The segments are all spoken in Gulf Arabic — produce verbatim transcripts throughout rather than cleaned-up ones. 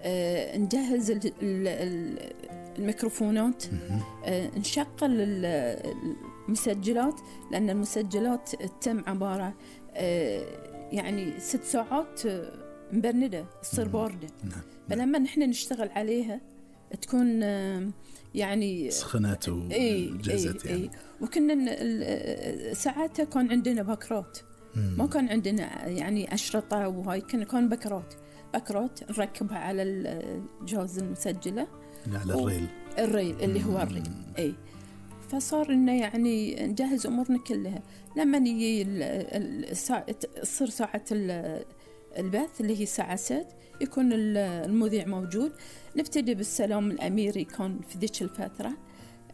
آه نجهز الميكروفونات، آه نشغل المسجلات، لأن المسجلات تتم عبارة آه يعني ست ساعات مبردة تصير باردة، فلما نحن نشتغل عليها تكون يعني سخنت وجهزت اي يعني. اي وكنا ساعاتها كان عندنا بكرات، ما كان عندنا يعني أشرطة وهاي، كان كان بكرات بكرات نركبها على الجهاز المسجلة على الريل الريل اللي هو الريل اي. فصار إنه يعني نجهز أمورنا كلها. لما نيجي الساعة تصير ساعة البث اللي هي الساعة ست، يكون المذيع موجود، نبتدي بالسلام الأميري كان في ذيك الفترة،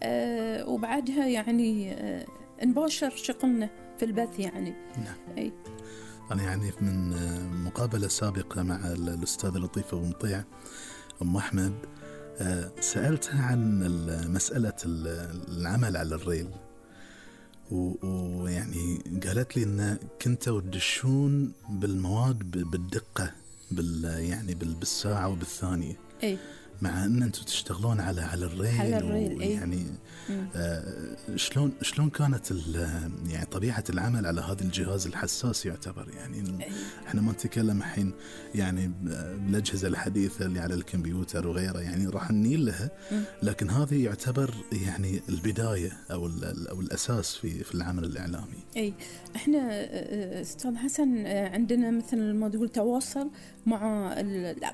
أه وبعدها يعني أه نباشر شغلنا في البث يعني. نعم. أي. أنا يعني من مقابلة سابقة مع الأستاذة لطيفة بمطيع أم أحمد أه سألتها عن مسألة العمل على الريل، ويعني قالت لي إن كنتوا تدشون بالمواد بالدقة بال يعني بالساعة وبالثانية. أي. مع أن أنتوا تشتغلون على على الريل, على الريل يعني آه شلون شلون كانت يعني طبيعة العمل على هذا الجهاز الحساس يعتبر يعني. أي. احنا ما نتكلم الحين يعني بالأجهزة الحديثة اللي على الكمبيوتر وغيره، يعني راح نيل لها، لكن هذه يعتبر يعني البداية أو أو الأساس في في العمل الإعلامي. أي احنا أستاذ حسن عندنا مثل ما تقول تواصل مع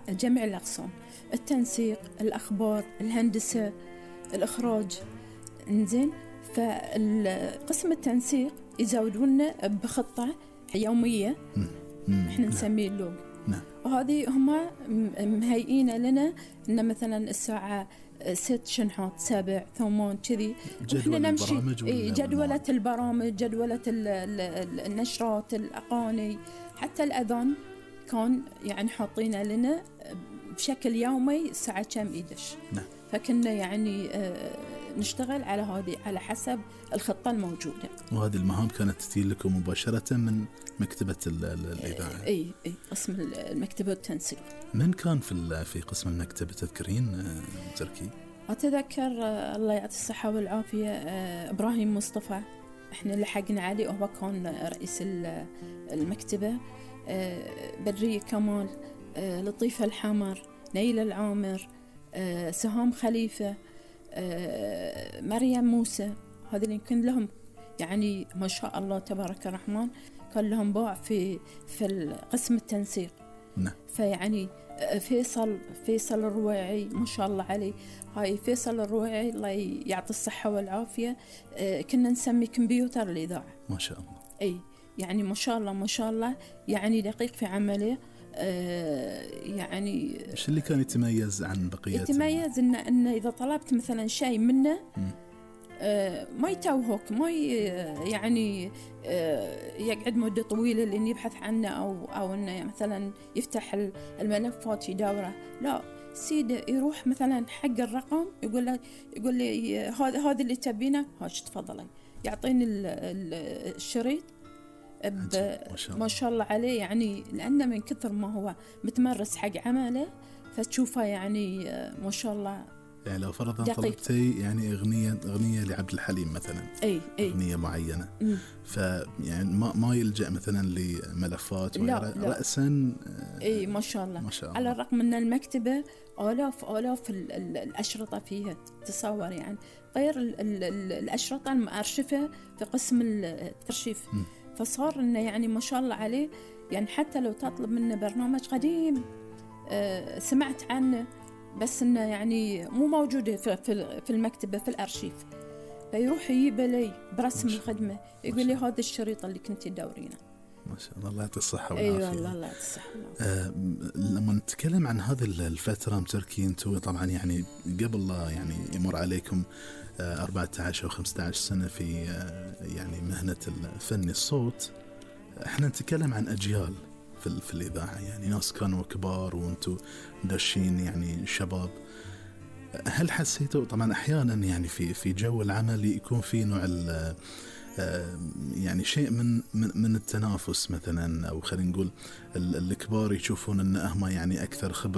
جميع الأقسام، التنسيق، الأخبار، الهندسة، الإخراج، إنزين. فالقسم التنسيق يزودونا بخطة يومية إحنا نسميه اللوج، وهذه هم مهيئين لنا إن مثلا الساعة ست شنحات سبع ثمان كذي، وإحنا نمشي جدولة البرامج، جدولة النشرات، الأغاني، حتى الأذان كان يعني حاطينه لنا بشكل يومي الساعة كم يدش. نعم. فكنا يعني آه نشتغل على هذه على حسب الخطة الموجودة. وهذه المهام كانت تتي لكم مباشرة من مكتبة الإذاعة؟ اي اي قسم المكتبة التنسيق. من كان في في قسم المكتبة تذكرين تركي؟ أتذكر آه الله يعطي الصحة والعافية آه إبراهيم مصطفى، احنا لحقنا عليه وهو كان رئيس المكتبة. آه بدرية كمال، آه لطيفة الحمر، نيلة العامر، آه سهام خليفة، آه مريم موسى، هذين يمكن لهم يعني ما شاء الله تبارك الرحمن كان لهم باع في في قسم التنسيق. نعم. فيعني فيصل فيصل الرويعي ما شاء الله عليه، هاي فيصل الرويعي الله يعطي الصحة والعافية، آه كنا نسمي كمبيوتر الإذاعة. ما شاء الله. أي يعني ما شاء الله ما شاء الله يعني دقيق في عمله. آه يعني إيش اللي كان يتميز عن بقية؟ يتميز إن إن إذا طلبت مثلا شيء منه آه ما يتوهك، ما يعني آه يقعد مدة طويلة لأن يبحث عنه أو أو إنه مثلا يفتح الملفات يدوره، لا سيده يروح مثلا حق الرقم يقول له يقول لي هذا هذا اللي تبينه، هاش تفضلي، يعطيني الشريط ما شاء, ما شاء الله عليه، يعني لأنه من كثر ما هو متمرس حق عمله فتشوفه يعني ما شاء الله. يعني لو فرضا طلبتي يعني أغنية أغنية لعبد الحليم مثلا، أي أي أغنية معينة، فيعني ما ما يلجأ مثلا لملفات لا لا. رأسا. أي ما شاء الله. ما شاء الله. على الرغم من المكتبة آلاف آلاف الأشرطة فيها تصور، يعني غير ال ال ال الأشرطة المؤرشفة في قسم الترشيف. م. فصار إنه يعني ما شاء الله عليه، يعني حتى لو تطلب منه برنامج قديم آه سمعت عنه بس إنه يعني مو موجود في في المكتبة في الأرشيف، فيروح يجيب لي برسم الخدمة يقول لي هذا الشريط اللي كنت تدورينه. ما شاء الله، الله يعطي الصحة والعافية. أي والله الله يعطي الصحة والعافية. آه لما نتكلم عن هذه الفترة متركي، أنتوا طبعا يعني قبل لا يعني يمر عليكم آه أربعة عشر أو خمسة عشر سنة في آه يعني مهنة الفن الصوت، احنا نتكلم عن أجيال في, في الإذاعة، يعني ناس كانوا كبار وأنتوا داشين يعني شباب. هل حسيتوا طبعا أحيانا يعني في في جو العمل يكون في نوع يعني شيء من من التنافس مثلا، أو خلينا نقول الكبار يشوفون أن هم يعني أكثر خبرة